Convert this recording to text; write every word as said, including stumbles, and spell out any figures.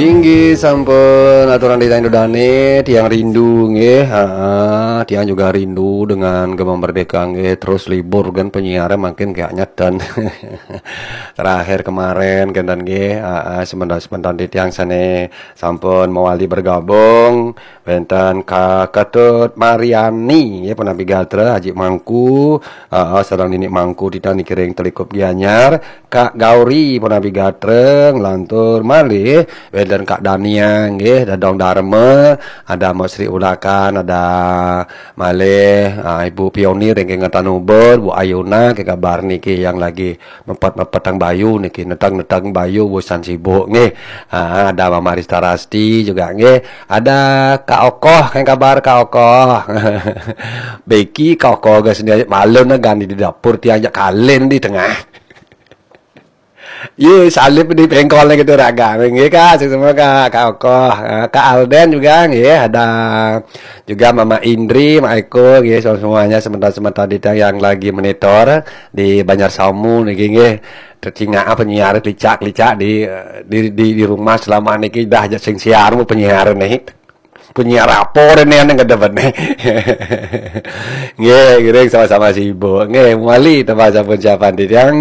Inggih sampun aturan titiang ida dane, tiang rindu nggih. Ha, tiang juga rindu dengan Gema Merdeka nggih. Terus libur kan penyiaran makin kayak nyeten. Terakhir kemarin kenten nggih. Ha, sebentar-sebentar titiang sane sampun mewali bergabung wenten Kak Ketut Mariani nggih, punapi gatra, Haji Mangku, ha, sareng Nini Mangku titiang niki ring Telikup Gianyar. Kak Gauri punapi gatra, nglantur malih wenten Kak Dania nggih, Dadong Dharma, ada Mak Sri Ulakan, ada malih, ah, Ibu Pionir ring Ngetan Ubud, Bu Ayuna, ke kabar niki yang lagi mepet-mepetang bayu niki, netang-netang bayu bosan sibuk nggih. Ah, ada Mama Rista Rasti juga nggih. Ada Kak Okoh, ke kabar Kak Okoh? Beki Kak Okoh ga sendiri malu na gani di dapur, tiang jak kalen di tengah. Ye, salib di pengkol gitu raga. Nggih, Kak, sukses semua, Kak, Kak Okoh. Ah, Kak Alden juga nggih, ada juga Mama Indri, Mak Eko nggih, semua-, semuanya sebentar-sebentar di yang lagi monitor di Banjar Samu niki nggih. Tercingak apa nyiar licak-licak di, di, di, di rumah selama niki dah aja sing siar mu penyiar nih. Penyiar apa rene yang ada benih. Nggih, giring sama-sama sibuk. Nggih, mewali tambah sampun siapan di yang